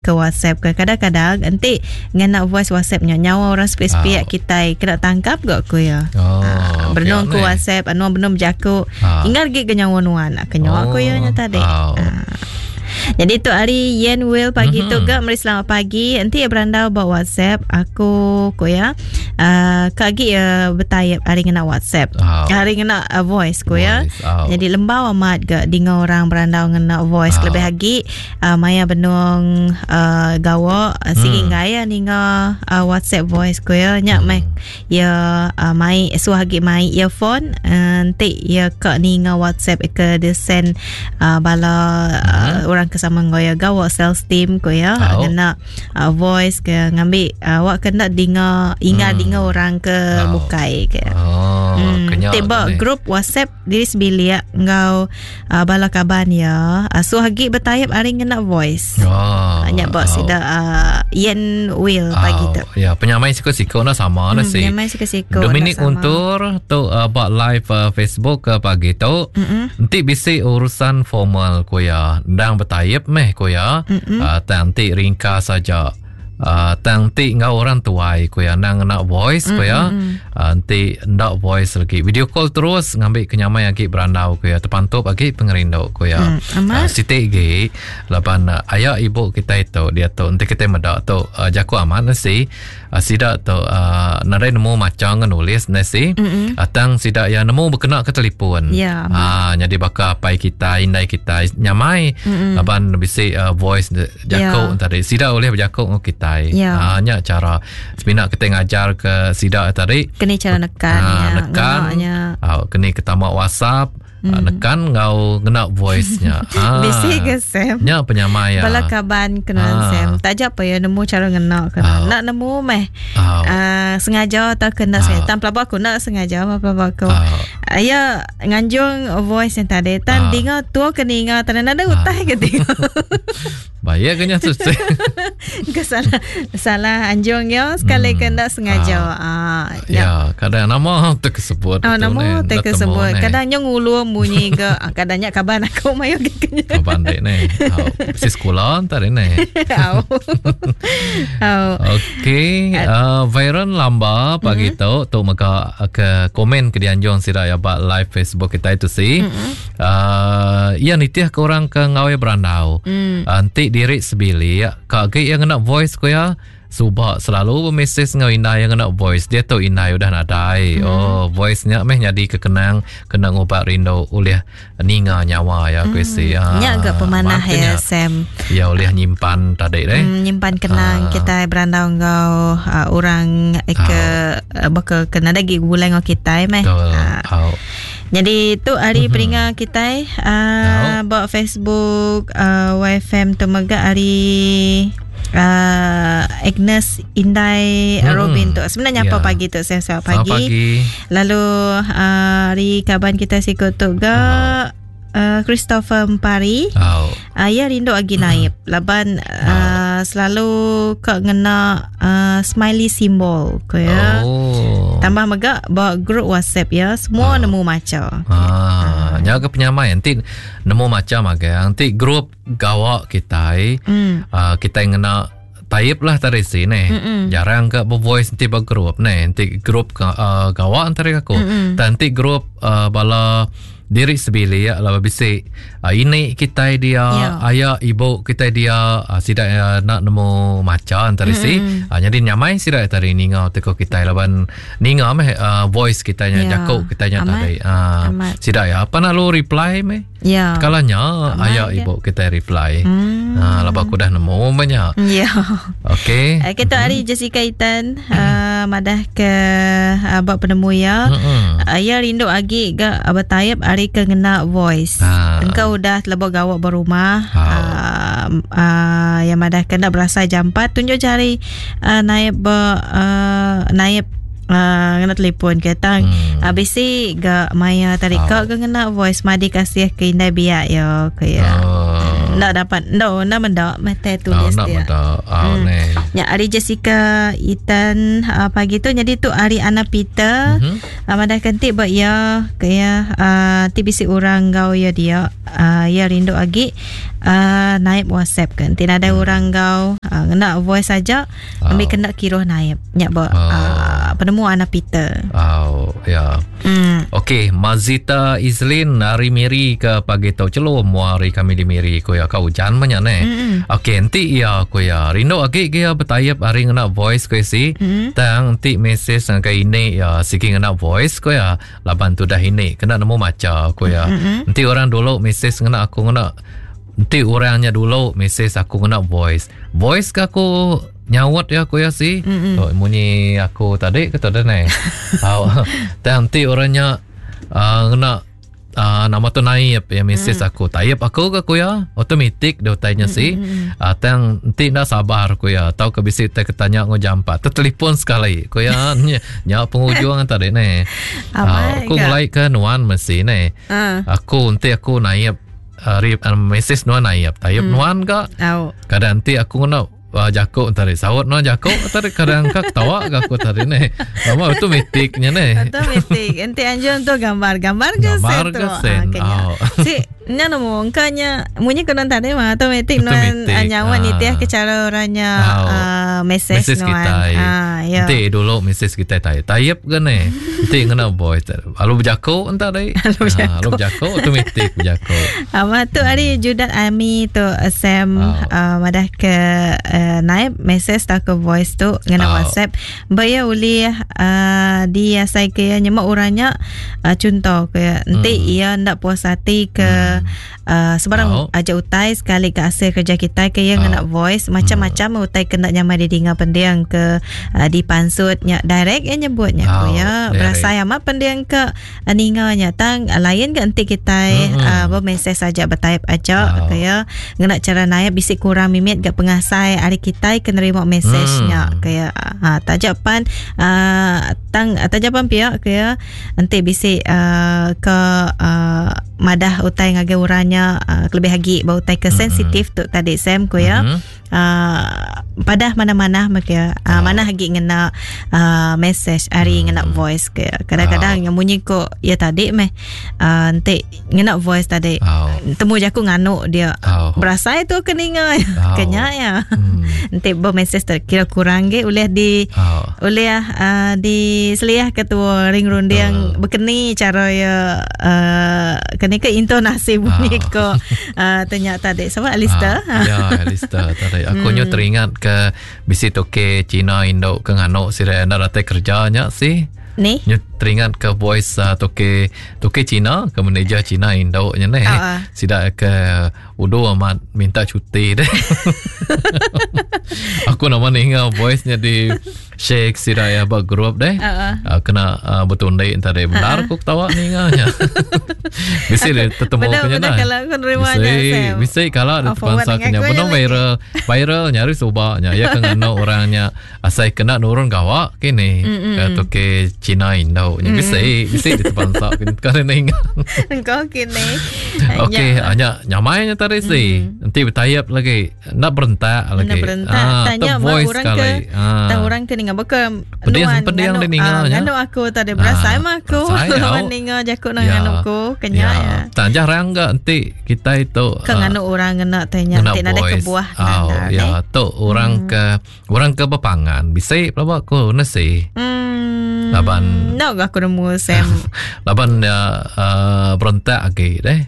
Ke WhatsApp ke kadang-kadang enti ngena voice WhatsApp nya nyawa orang sepik-sepik kitai kena tangkap ga ku iya. Oh, Ah, benung ku WhatsApp anu benung bejaku Ah. ingat gi ke nyawa nuan ke nyawa ku iya nya tadi. Oh. Ah. Jadi tu hari Yen Will pagi mm-hmm. tu ga meri selamat pagi. Enti iya berandau ba WhatsApp aku ku ya. Uh, ka agi ya betayap hari ngena WhatsApp. Oh. Hari ngena uh, voice ku ya. Voice, oh. Jadi lembau amat ga dinga orang berandau ngena voice Oh. lebih agi uh, maya benung uh, gawa uh, sigi Hmm. gaya ninga uh, WhatsApp voice ku ya nya meh ya uh, mai suah agi mai earphone uh, enti ya ka ninga WhatsApp ke dia send uh, bala uh, orang ke sama enggau ya gawa sales team ku ya Oh. ngena uh, voice ke ngambi uh, awak kena dinga inga Hmm. dinga orang ke Oh. bukai ke. Oh, kenyal Tiba ni. grup WhatsApp diri sebilik ngau uh, bala kaban ya. Uh, suah agi bertayap hari ngena voice. Oh. Nya ba oh. sida uh, Yen Will pagi tu. Ya, penyamai siku-siku nak sama hmm, si. Penyamai siku-siku Dominic nak sama. Untur tu uh, buat live Facebook ke pagi tu. Mm-mm. Enti bisi urusan formal ku ya, ndang bertayap meh ku ya. Uh, tang ti ringkas saja. Uh, tang ti ngau orang tuai ku ya, ndang ngena voice ku ya. Uh, enti ndak voice lagi. Video call terus ngambil kenyamai agi berandau ku ya, terpantup agi pengerindu ku ya. Amat. Uh, sitik gi laban uh, ayak ibu kita itu dia tu enti kita medak tu uh, jaku amat nasi uh, sida tu uh, nadai nemu maca nulis nasi Mm-mm. uh, tang sida ya nemu berkena ke telefon. Ya, amat. Ah jadi baka apai kita indai kita nyamai Mm-mm. laban bisi uh, voice jaku Ya. tadi sida boleh berjaku dengan kita. Ya. Ah nya cara semina kita ngajar ke sida tadi Kena cara nekan Ah, ya. nekan. Ngenaknya. Ah, kena ketama WhatsApp, mm. nekan ngau ngena voice-nya. Ah. Bisi ke Sam? Nya penyamai ya. Bala kaban kena Ah. Sam. Tak apa ya nemu cara ngena kena. Ah. Nak nemu meh. Ah. Uh, sengaja atau kena Ah. sengaja. Tan pelabak aku nak sengaja apa pelabak aku. Ah. Uh, ya nganjung voice yang tadi. Tan Ah. dengar tua kena ingat tan ada utai ke dengar. Bahaya kena susah. Ke salah salah anjung ya sekali Hmm. kena sengaja. Ah. ya, kadang nama terkesebut. Oh, tu nama ni, tak nak temu kesebut. ni. Kadang nyong ngulu bunyi ke. Ah, Kadangnya kabar aku mayo ke kenya. Kaban dek ni. Oh, si sekolah tadi ni. Au. Au. Okey, uh, Byron Lamba pagi mm-hmm. tu tu maka ke komen ke dianjung sida ya bak live Facebook kita itu si. Mm-hmm. Uh, ia nitih ke orang ke ngawe berandau. Mm. Uh, Nanti diri sebilik kak ge yang kena voice ko ya. Subak selalu bermesej ngau Inai yang kena voice. Dia tu Inai udah nadai. Hmm. Oh, voice nya meh jadi kekenang kena ngubat rindu oleh ninga nyawa ya mm. si. Ah, Nya agak pemanah makanya ya Sam. Ya oleh nyimpan tadi deh. Nyimpan kenang Ah. kita berandau ngau uh, orang eh, ke uh, baka kena lagi gulai ngau kita meh. Betul. Ah. Oh. Jadi tu hari mm-hmm. peringa kita uh, buat Facebook uh, YFM tu mega hari uh, Agnes Indai Hmm. Robin tu. Sebenarnya apa Ya. pagi tu saya selamat Selamat pagi. pagi. Lalu uh, hari kaban kita sikut tu ga uh, Christopher Mpari. Oh. Uh, ya rindu agi naib laban uh, selalu kak ngena uh, smiley symbol ko ya. Oh. Tambah mega bawa grup WhatsApp ya, semua nemu maca. Ah, nya ke penyamai nanti nemu macam agak nanti grup gawak kita Hmm. uh, kita ngena type lah tadi sini. Mm-mm. Jarang ke bervoice nanti bergrup ni. Nanti grup ke, uh, gawak antara aku. Mm-mm. Dan nanti grup uh, bala diri sebilik lah bisik uh, ini kita dia Ya. ayah ibu kita dia uh, sidak uh, nak nemu maca antara si uh, jadi nyamai sidak tadi ninga teko kita laban ninga meh uh, voice kita nya Ya. jakuk kita nya Amat. tadi uh, Amat. sidak ya apa nak lu reply meh Ya. Kalanya Amat ayah ya. ibu kita reply. Hmm. Ha, lepas aku dah nemu banyak. Ya. Okey. Uh, kita hari Jessica Itan uh, madah ke uh, buat penemu ya. Mm-mm. Uh, ya rindu agi ga bertayap hari ke ngena voice. Ah. Engkau udah telebok gawak berumah. Ah. Uh, uh, yang madah kena berasa jampat tunjuk jari uh, naib ber, uh, naib Uh, ngena telefon ke tang Hmm. hmm. bisi ga maya tadi Ah. kau ke ngena voice madi kasih ke indai biak ya ke ya. Oh. Enda dapat enda enda meda meh tulis dia. Enda meda. Oh, hmm. Nya ari Jessica Ethan pagi tu jadi tu ari Anna Peter. Mm-hmm. Madah kenti ba iya ke iya ti bisi orang enggau iya dia iya rindu agi naip WhatsApp ke enti nadai orang enggau ngena voice aja ambi oh. kena kiruh naip nya ba oh. penemu Anna Peter. Oh ya. Okey, Mazita Izlin hari Miri ke pagi tu celum mua hari kami di Miri ko ya ka ujan mah ne. Okey, enti iya ko ya rindu agi ke ya betayap hari ngena voice ko si. Tang enti message ngagai ini ya sigi ngena voice ko ya laban tudah ini kena nemu macha ko ya. Enti orang dulu message ngena aku ngena enti orangnya dulu message aku ngena voice. Voice ke aku nyaut ya aku ya si. Mm-hmm. Oh, munyi aku tadi ke tadi ni. Au. Tang enti orangnya ngena nama tu naip ya message aku. Taip aku ke aku ya automatic dia utainya si. Tang enti nda sabar aku ya tau ke bisi tai ketanya ngau jampat. Tertelefon sekali aku ya nya pengujung tadi ni. Aku ngelai ke nuan mesti ni. Aku enti aku naip message nuan naip. Taip nuan ga. Kadang enti aku ngena jaku tadi saut no jaku tadi kadang ka ketawa ga aku tadi ni. Lama automatic nya ni. Automatic. Enti anjung tu gambar, gambar ke gambar ke sen. Ah, oh. Si nya nemu engka nya munyi ke non tadi mah automatic nuan nyawa ah. nitih ke cara orangnya oh. message, message nuan. Kita. Ah, ya. Enti dulu message kita tai. Type ke ni. Enti ngena voice. Lalu berjaku entah dai. Lalu berjaku. Lalu berjaku automatic berjaku. Amat tu hari Judat Ami tu Sam oh. Madah ke naib message tau ke voice tu ngena oh. WhatsApp. Ba ya ulih diasai ke ya nyemak orangnya contoh ke enti ia ndak puas hati ke sebarang oh. aja utai sekali ke hasil kerja kita ke ia ngena voice macam-macam utai ke ndak nyamai didinga pendiang ke dipansut nya direct ia nyebutnya oh, ya berasai amat pendiang ke ninga nya tang lain ke enti kitai bermesej saja bertype aja ke ya ngena cara naip bisi kurang mimit ga pengasai ari kitai ke nerima mesej nya ke ya ha taja pan tang taja pan pia ke ya enti bisi ke madah utai ngagai orang nya kelebih agi ba utai ke sensitif tu tadi Sam ku ya padah mana-mana maka manah agi ngena message ari ngena voice ke kadang-kadang yang munyi ko ya tadi meh enti ngena voice tadi temu jaku nganu dia berasai tu ke ninga kenya ya enti ba message tu kira kurang ge ulih di ulih di seliah ke tua ring runding bekeni cara ya keni ke intonasi bunyi ko tanya tadi sama Alistair. Ya Alistair tadi aku nyu teringat ke bisi toke Cina Indo ke nganu sida enda datai kerja nya si. Ni? Nyu teringat ke voice toke toke Cina ke manager Cina Indo nya ni. Sida ke udu amat minta cuti deh. Aku nama ninga voice nya di share sida ya ba group deh. Kena betundi tadi benar aku ketawa ninga nya. Bisi dia tetemu ke nya. Benar kalau aku nerima nya Sam. Bisi kalau dia terpaksa kena benar viral. Viral nya hari suba nya ya ke nganu orang nya asai kena nurun gawa kini. Ke toke Cina Indo nya bisi bisi dia terpaksa kena ninga. Engkau kini. Okey, nya nyamai nya tadi si. Enti betayap lagi Enda berentak lagi. Enda berentak. Ah, Tanya top ba voice orang sekali. ke Ah. tang orang ke ninga baka Pedih nuan pedih nganu dia ninga ah, nya. nganu aku tadi berasai Ah, mah aku berasai, lawan au. ninga jaku nang Ya. nganu aku kenya Ya. ya. Tak jarang ga enti kitai tu Ke ah, nganu orang ngena tanya ngena enti nadai voice. kebuah Au, nandar ya, eh. tu orang ke orang ke bepangan bisi pelaba aku nesi. Laban Enda ga aku nemu Sam. laban ya uh, berentak agi deh.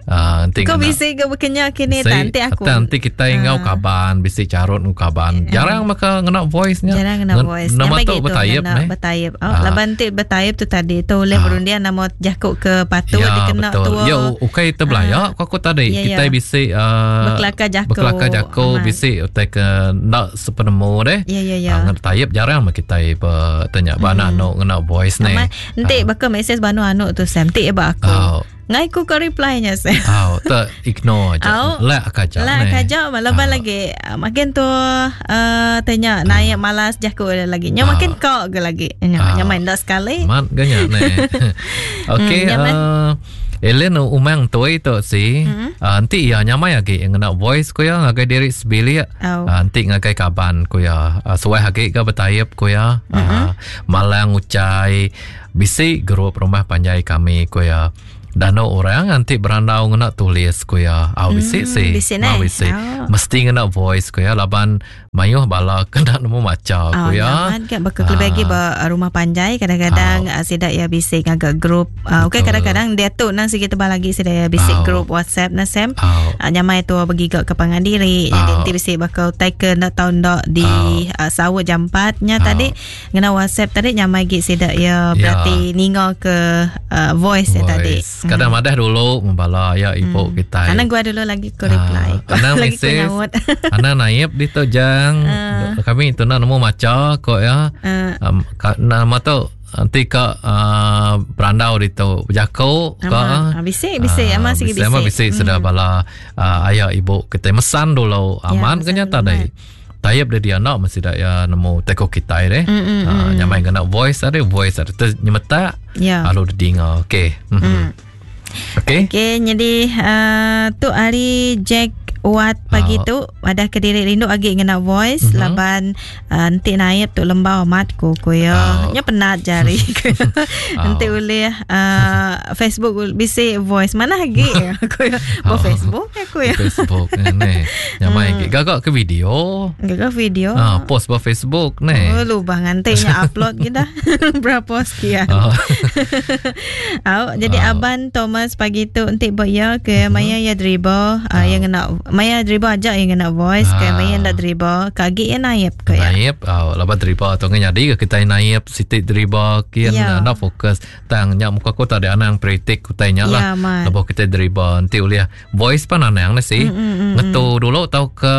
Uh, enti Kau ngena bisi ke bekenya kini Bisi, tak enti aku. Enti enti kita ngau kaban, bisi carut ngau kaban. Jarang maka ngena voice nya. Jarang ngena voice. Nama Nyamai tu gitu bertayap ngena ne. Bertayap. Oh, Ah. laban ti bertayap tu tadi tu oleh berundian nama jaku ke patut Ya, dikena betul. tua. Ya, ukai terbelayak ko aku tadi. Ya, Kita ya. bisi Bekelakar jaku. Bekelakar jaku Amat. bisi utai ke ndak sepenemu deh. Ya, ya, ya. Ah, ngena tayap jarang mah kita bertanya ba anak anu ngena voice ne. Amat. Enti baka mesej banu anu tu Sam ti ba aku. Oh. Ngai ku kau reply nya Sam. Oh, te ignore aja. Au. Lek aja Lah ne. kaja laban lagi makin tu tanya naik malas jaku dia lagi. Nya makin kau ke lagi. Nya nya main dah sekali. Mat ganya ne. Okey, Nya meh. Ellen umang tuai tu si mm-hmm. uh, enti iya nyamai agi ngena voice ku iya ngagai diri sebilik oh. uh, enti ngagai kaban ku iya uh, suah agi ga betaip ku iya mm-hmm. uh, malang ucai bisi grup rumah panjai kami ku iya Danu orang enti berandau ngena tulis ku iya. Au bisi mm, si. Bisi neh. Bisi. Oh. Mesti ngena voice ku iya laban mayuh bala kena nemu macha ku iya. Amat ga baka kelebih agi ba rumah panjai kadang-kadang oh. sida iya bisi ngaga group. Uh, okey kadang-kadang diatu nang sigi tebal agi sida iya bisi oh. group WhatsApp na Sam. Oh. Uh, nyamai tu begiga ke pangan diri. Jadi oh. enti bisi baka utai ke enda tau enda di oh. uh, saut jampat nya oh. tadi Ngena WhatsApp tadi nyamai gi sida ya berarti ya. ninga ke uh, voice, voice. tadi. Kadang hmm. madah dulu membala ya ibu hmm. kita. Anang gua dulu lagi ku reply. Uh, anang lagi ku nyaut. anang naib di tu jang. Uh. Kami tu nak nemu maca kok ya. Uh. Um, ka, nama tu nanti ka uh, berandau di tu berjako ka. Ah, bisi bisi uh, amat sigi bisi. Amat bisi hmm. sudah bala uh, ayah ibu kita mesan dulu aman ya, kenya tadi. Tayap dia dia nak mesti dak ya nemu teko kitai deh. Mm, mm, uh, nyamai ngena voice ada voice ada ter nyemetak. Yeah. Lalu dinga. Okey. Mm. Mm. Okey. Okey, jadi uh, tu hari Jack Wat pagi uh. tu ada ke diri rindu agi ngena voice mm-hmm. laban uh, enti naip tu lembau amat ku ku ya. Uh. Nya penat jari. Enti uh. ulih uh, Facebook bisi voice mana agi ku ya. Bo Facebook aku ya. Facebook ni. Nyamai hmm. Gagak ke video. Gagak video. Ah, post ba Facebook ni. Oh, lubang nganti nya upload kita. Berapa sekian. Oh. Au, jadi oh. Aban Thomas pagi tu enti ba ya ke mm-hmm. maya ya driba, uh, yang ngena maya driba aja yang ngena voice ke maya ndak driba, kagi ya naip ke ya. Naip, oh, laban driba tu nyadi ke kita naip siti driba kian yeah. nak fokus tang nya muka aku tak ada anang kritik utai nya lah. Yeah, Lebuh kita driba enti ulih voice pan anang ne si. Mm, mm, mm, Ngetu dulu tau ke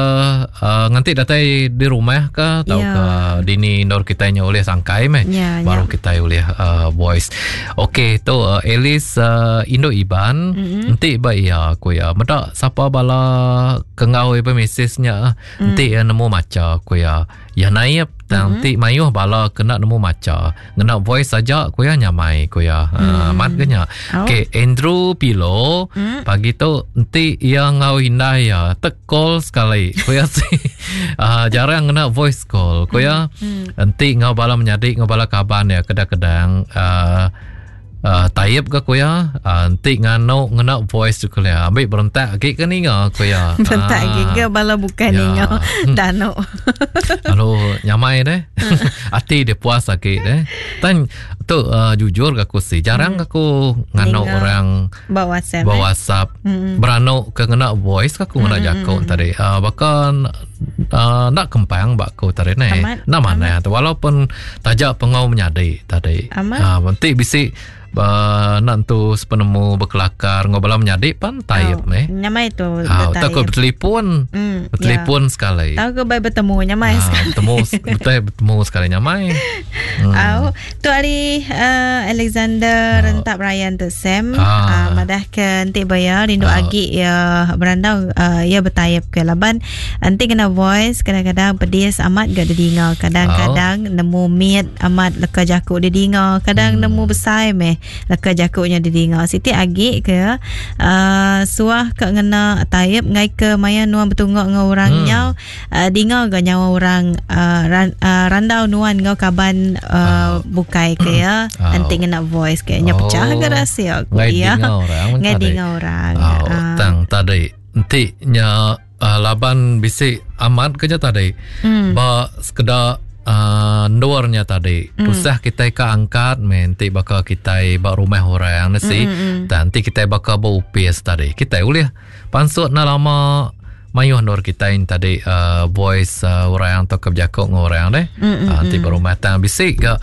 uh, nganti datai di rumah ke tau yeah. ke dini nor kita nya ulih sangkai meh. Yeah, Baru yeah. kita ulih uh, voice. Okey tu uh, Alice uh, Indo Iban mm-hmm. enti ba iya ku iya meda sapa bala ke enggau iya mesej nya mm. enti iya nemu macha ku iya. Iya naip tang mm-hmm. ti mayuh bala kena nemu macha. Ngena voice saja ku iya nyamai ku iya. Mm. Uh, amat ke nya. Oh. Okey, Andrew Pilo mm. pagi tu enti iya enggau indai iya tek call sekali. Ku iya si uh, jarang ngena voice call. Ku iya mm. enti enggau bala menyadi enggau bala kaban iya kadang-kadang uh, Uh, taib ke ku iya uh, enti nganu ngena voice tu kelia ambil berentak agi ke ninga ku iya berentak agi ke bala bukan ya. ninga danu lalu nyamai deh ati dia puas agi deh tan tu uh, jujur ke aku si jarang hmm. aku nganu ninga. orang ba WhatsApp ba eh? WhatsApp hmm. beranu ke ngena voice ke aku ngena hmm. jako tadi uh, bahkan uh, nak kempang ba aku tadi ne nak mana tu walaupun taja pengau menyadi tadi. Amat. Ha, enti bisi uh, nak tu sepenemu berkelakar ngau bala menyadi pan taib oh, meh. Nyamai tu. Ha, tak ko bertelefon. Mm, bertelefon ya. sekali. Tahu ke baik bertemu nyamai ha, sekali. Bertemu betul bertemu sekali nyamai. Hmm. Au, tu hari uh, Alexander oh. Rentap Ryan tu Sam ah. uh, madah ke enti baya rindu oh. agi ya berandau uh, ya bertayap ke laban Enti kena voice kadang-kadang pedis amat ga didinga. Kadang-kadang oh. nemu mit amat leka jaku didinga. Kadang hmm. nemu besai meh leka jaku nya didinga. Siti agi ke uh, suah ka ngena taip ngai ke maya nuan betunga enggau orang hmm. nyau uh, dinga ga nyawa orang uh, ran, uh, randau nuan enggau kaban uh, oh. bukai ke ya. Oh. Enti ngena voice ke nya pecah oh. ga rahsia ku ya. Ngai dinga orang. Oh, uh. tang tadi enti nya uh, laban bisi amat ke nya tadi mm. ba sekeda uh, endur nya tadi mm. tusah kitai ka angkat meh enti baka kitai ba rumah orang ne si mm, mm. dan enti kitai baka ba upis tadi kitai ulih pansut na lama mayuh endur kitai tadi uh, voice uh, orang atau ke bejaku dengan orang deh mm, mm, uh, enti ba rumah tang bisi ga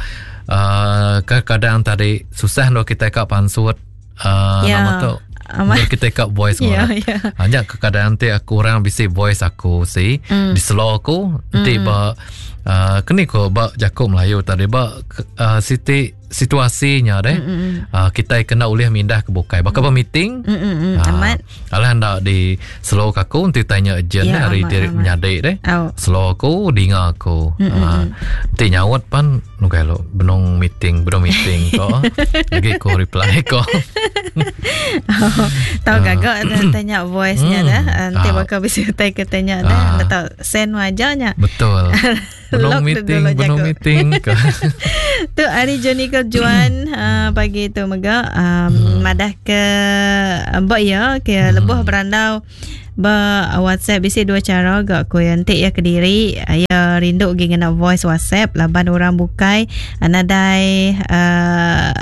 uh, kadang tadi susah endur kitai ka pansut uh, Ya. nama tu Amat. Biar kita kat voice Ya, orang. ya. Hanya kadang nanti aku orang bisi voice aku si mm. di slow aku nanti mm. ba Uh, keni ko ba jaku Melayu tadi ba uh, siti situasinya deh. Mm-hmm. Uh, kita kena ulih mindah ke bukai. Baka ba meeting. Mm-hmm. Uh, amat. Alah anda di slow ke aku enti tanya urgent ya, hari diri menyadi deh. Oh. Slow aku dinga aku. Mm-hmm. Uh, enti nyaut pan nugai lo benung meeting, benung meeting ko. Lagi ko reply ko. oh, tahu uh. gagak tanya voice-nya mm. dah. Nanti uh. bakal bisa utai ke tanya dah. Uh. Tahu send wajahnya. Betul. Belum meeting, belum meeting. tu hari Johnny ke Juan pagi tu mega um, hmm. madah ke mbak ya ke hmm. lebuh berandau ba WhatsApp bisi dua cara gak ko ya entik ya kediri ya rindu gi ngena voice WhatsApp laban orang bukai nadai uh,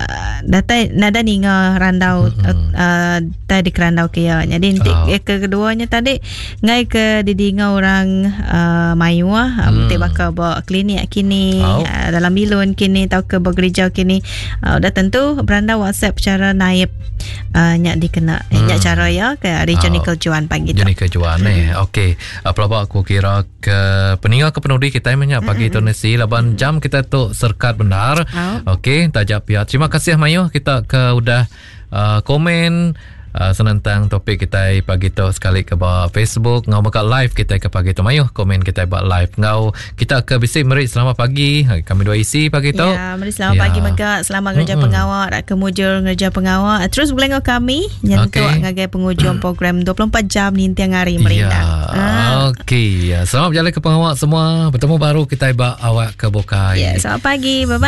datai nadai ninga randau hmm. uh, tai dikerandau ke ya jadi entik oh. ke keduanya tadi Ngai ke didinga orang uh, mayuh hmm. ti baka ba klinik kini oh. uh, dalam bilun kini tauka ba gereja kini uh, udah tentu berandau WhatsApp cara naib uh, nyak dikena hmm. nyak cara ya ke hari oh. Johnny Juan pagi tu. Johnny Juan hmm. eh. Okey. Uh, pelaba aku kira ke peninga ke penudi kita menyak pagi hmm. tu nasi laban jam kita tu serkat benar. Oh. Okey, tajap ya. Terima kasih mayuh kita ke udah uh, komen uh, senentang topik kita pagi tu sekali ke ba Facebook ngau mega live kita ke pagi tu mayuh komen kita ba live ngau kita ke bisi meri selamat pagi kami dua isi pagi tu ya meri selamat ya. pagi mega selamat ngerja mm-hmm. pengawa rak ke mujur ngerja pengawa terus boleh ngau kami nyentuk okay. ngagai penghujung program 24 jam ninting hari merindang ya. Ah. Okey, ya. selamat berjalan ke pengawa semua. Bertemu baru kita ba awak ke bukai. Ya, selamat pagi. Bye bye.